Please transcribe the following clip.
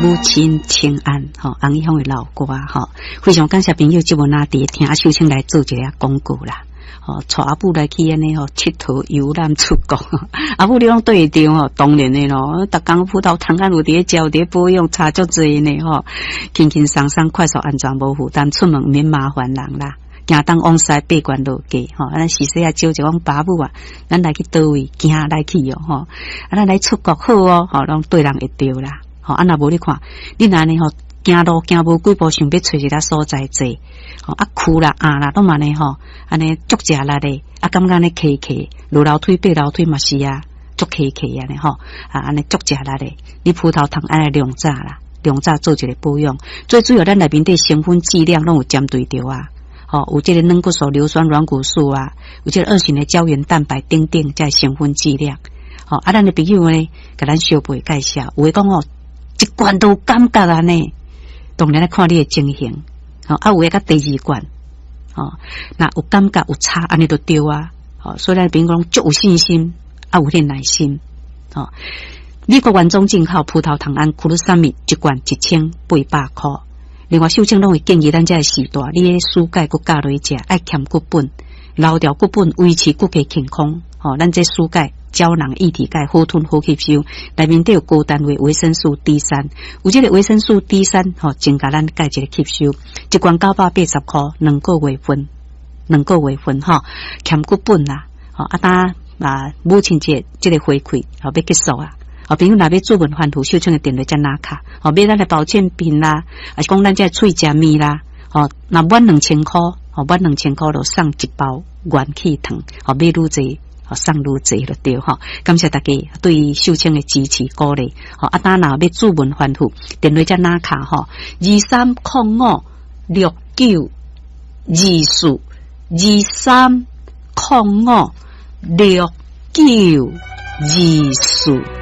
母親請安，吼，洪一峰的老歌，吼，非常感謝朋友這麼拿佇聽秀清來做一个廣告啦，吼，帶阿母來去按呢吼，𨑨迌遊覽出國，阿母你攏對會著吼，當然的咯，逐工葡萄糖胺有佇咧食，有佇咧保養，差足濟呢吼，輕輕鬆鬆，快速安全無負擔，出門毋免麻煩人啦。行東往西八關落價吼，咱時勢啊招就講爸母啊，咱來去佗位行來去哦吼，啊咱來出國好哦，吼攏對人會著啦，吼啊若無你看，你若按呢吼行路行無幾步，想欲揣一个所在坐，吼啊跍啦壓啦，攏嘛按呢吼，按呢足食力的，啊感覺按呢磕磕，落樓梯爬樓梯嘛是啊，足磕磕按呢吼，啊按呢足食力的，你葡萄糖愛來量早啦，量早做一个保養，最主要咱內面底成分劑量攏有針對著啊。吼，有這個軟骨素、硫酸軟骨素啊，有這個二型的膠原蛋白等等，這成分劑量。吼，啊，咱的朋友呢，共咱小輩介紹，有的講哦，一罐都有感覺按呢，當然來看你的情形。吼，啊，有的佮第二罐，吼，若有感覺有差，按呢就對啊。吼，所以咱朋友講足有信心，啊，有點耐心。吼，美國原裝進口葡萄糖胺 glucosamine 一罐1800箍。另外，秀清攏會建議咱這个時代，你的舒鈣閣加落去食，愛兼骨本，留掉骨本，維持骨骼健康。吼，咱這舒鈣膠囊液體鈣好吞好吸收，內面底有高單位維生素 D 3，有這個維生素 D 三，吼，增加咱鈣質的吸收。一罐980箍，兩個月份，兩個月份吼，兼骨本啦，吼，啊，當啊母親節這個回饋，吼，欲結束啊。哦，朋友若欲主問翻覆，秀清的電話才拿卡，吼，買咱的保健品啦，抑是講咱這喙食物啦，吼，若滿兩千箍，吼，滿兩千箍就送一包元氣糖，吼，買愈濟，吼，送愈濟就對吼。感謝大家對秀清的支持鼓勵，吼，啊，當若欲主問翻覆，電話才拿卡吼，23056924，23056924。